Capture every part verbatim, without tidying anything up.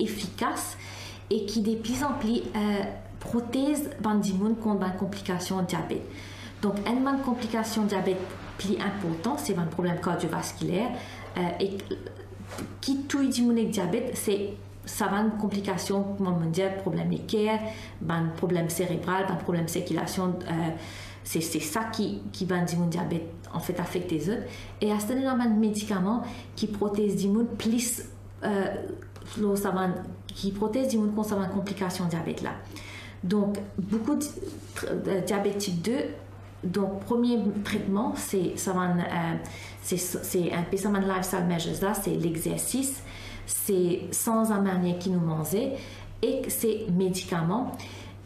efikas e ki de pli an pli, eh, protez bann dimoun kont bann konplikasion diabet. Donk, enn bann konplikasion diabet pli inportan, se bann problem kardiovaskiler, eh, e ki touy dimoun ek diabet, se sa bann konplikasion, kouma mo dir, problem leker, bann problem serebral, bann problem sirkilasion, eh, se, se sa ki, ki bann dimoun diabet, anfet, afekte zot. E aster nou ena bann medikaman ki protez dimoun plis, eh, lor sa bann, ki protez dimoun kont sa bann konplikasion diabet la. Donk, boukou di-, tr-, eh, diabet tip de, donk, premie tretman, se sa bann, eh, se, se enpe sa bann lifestyle measures la, se lexersis, se sanz lamanier ki nou manze, ek se medikaman,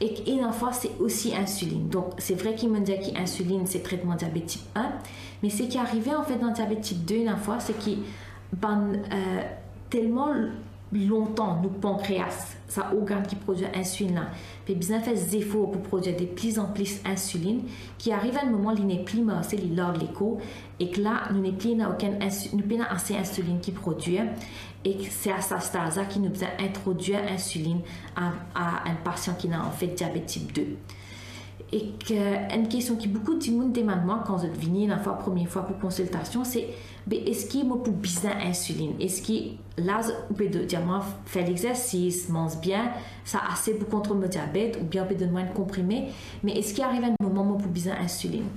ek ena fwa se osi insilinn. Donk, se vre ki mo dir ki insilinn se tretman diabet tip enn, me seki arive, anfet, dan diabet tip de, ena fwa, se ki bann, eh, telman lontan nou pankreas, sa organn ki prodwir insilinn la, pe bizin fer zefor pou prodwir de pli an pli insilinn, ki ariv enn moman li nepli marse, li larg lekor, ek la nou nepli ena okenn insi-, nou pena ase insilinn ki prodwir, ek se a sa staz la ki nou bizin introdwir insilinn a, a enn pasian ki ena, anfet, diabet tip de. Ek, eh, enn kestion ki boukou dimoun demann mwa kan zot vini ena fwa, premie fwa pou konsiltasion, se, be, eski mo pou bizin insilinn? Eski la, zot, ou pe do-, dir mwa fer lexersis, manz bien, sa ase pou kontrol mo diabet, oubien ou pe donn mwa enn konprime, me eski ariv enn moman mo pou bizin insilinn?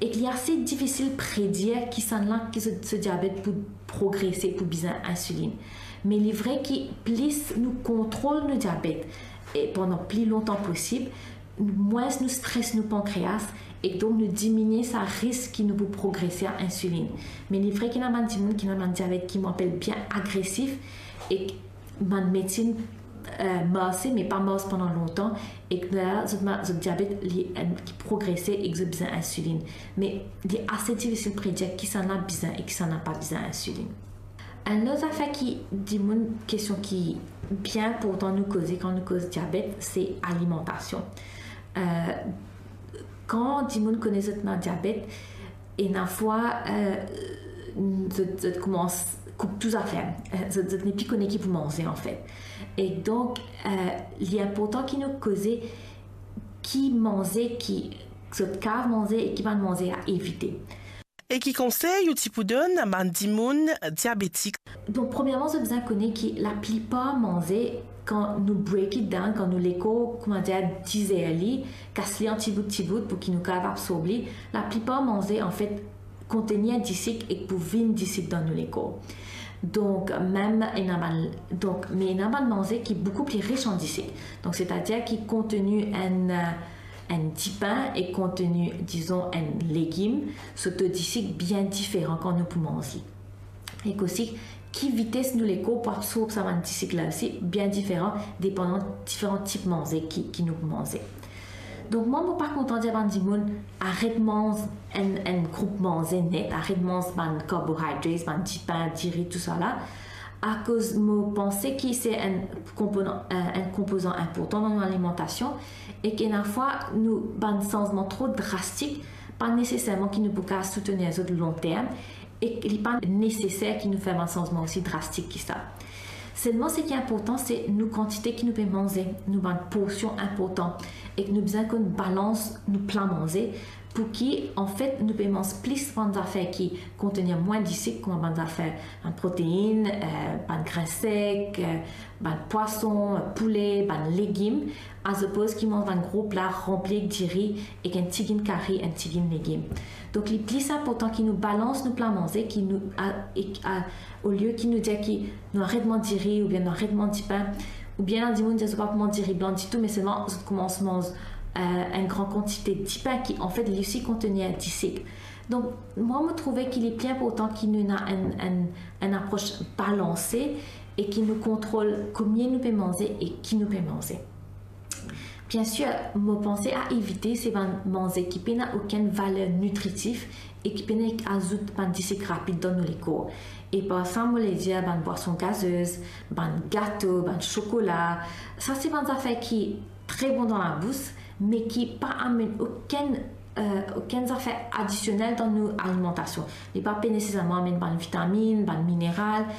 Ek li ase difisil predir kisannla ki so, so diabet pou progrese, pou bizin insilinn. Me li vre ki plis nou kontrol nou diabet, e pandan pli lontan posib, mwins nou stres nou pankreas, ek donk nou diminie sa risk ki nou pou progrese a insilinn. Me li vre ki ena bann dimoun ki ena bann diabet ki mo apel bien agresif, ek bann medsin, eh, marse, me pa mars pandan lontan, ek la, zot ma-, zot diabet, li, eh, ki progrese, ek zot bizin insilinn. Me li ase difisil predir kisannla bizin ek kisannla pa bizin insilinn. Enn lot zafer ki dimoun, kestion ki bien inportan nou koze kan nou koz diabet, se alimantasion. Eh, kan dimoun kone zot ena diabet, ena fwa, eh, zot, zot koumans koup tou zafer. Eh, zot, zot nepli kone ki pou manze, anfet. E donk, eh, li inportan ki nou koze ki manze ki zot kav manze e ki bann manze a evite. E ki konsey ou ti pou donn bann dimoun diabetik? Donk, premierman, zot bizin kone ki laplipar manze, kan nou break it down, kan nou lekor, koumadir, dizer li, kas li an tibout, tibout, pou ki nou kav absorb li, laplipar manze, anfet, kontenir disik ek pou vinn disik dan nou lekor. Donk, mem ena bann, donk, me ena bann manze ki boukou pli ris an disik. Donk, setadir ki konteni enn, eh, enn dipin e konteni, dizon, enn legim, so to disik bien diferan kan nou pou manz li. Ek osi, ki vites nou lekor pou absorb sa bann disik la osi, bien diferan, depandan diferan tip manze ki, ki nou pou manze. Donk, mwa, mo pa kontan dir bann dimoun, aret manz enn, enn group manze net, aret manz bann carbohydrates, bann dipin, diri, tousala, akoz mo panse ki se enn konponan, enn, enn konpozan inportan dan nou alimantasion, e ki ena fwa nou, bann sanzman tro drastik, pa neseserman ki nou pou kav soutenir zot lonterm, e ki li pa neseser ki nou fer bann sanzman osi drastik ki sa. Selman, seki inportan, se nou kantite ki nou pe manze, nou bann porsion inportan, e ki nou bizin konn balans nou pla manze, pou ki, anfet, nou pe manz plis bann zafer ki kontenir mwin disik, kouma bann zafer, bann protein, eh, bann grin sek, eh, bann pwason, poule, bann legim, azopoz ki manz bann gro pla ranpli ek diri, ek enn tigit kari, enn tigit legim. Donk, li plis inportan ki nou balans nou pla manze, ki nou, a, ek, a, olie ki nou dir ki nou aret manz diri, oubien nou aret manz dipin, oubien ena dimoun dir zot pa pou manz diri blan ditou, me selman zot koumans manz, eh, enn gran kantite dipin ki, anfet, li osi kontenir disik. Donk, mwa, mo trouve ki li pli inportan ki nou ena enn, enn, enn apros balanse e ki nou kontrol komie nou pe manze e ki nou pe manze. Biensir, mo panse a evite se bann manze ki pena okenn valer nitritif e ki pena azout bann disik rapid dan nou lekor. E par sa, mo le dir bann bwason gazez, bann gato, bann sokola. Sa se bann zafer ki tre bon dan labous, me ki pa amenn okenn, eh, okenn zafer adisionel dan nou alimantasion. Li pa pe neseserman amenn bann vitaminn, bann mineral,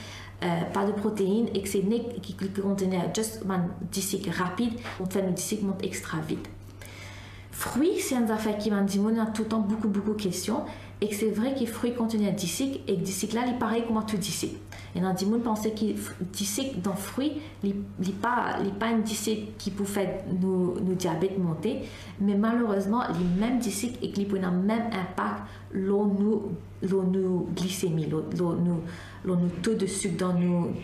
euh, pa de protein, ek se nek ki, ki kontenir just bann disik rapid, fer nou disik mont extra vit. Frwi, se enn zafer ki bann dimoun ena toultan boukou, boukou kestion, ek se vre ki frwi kontenir disik, ek disik la, li parey kouma tou disik. Ena dimoun panse ki f-, disik dan frwi, li, li pa, li pa enn disik ki pou fer nou, nou diabet monte, me malerezman, li mem disik ek li pou ena mem inpak lor nou, lor nou glisemi, lor, lor nou, lor nou to de sik dan nou,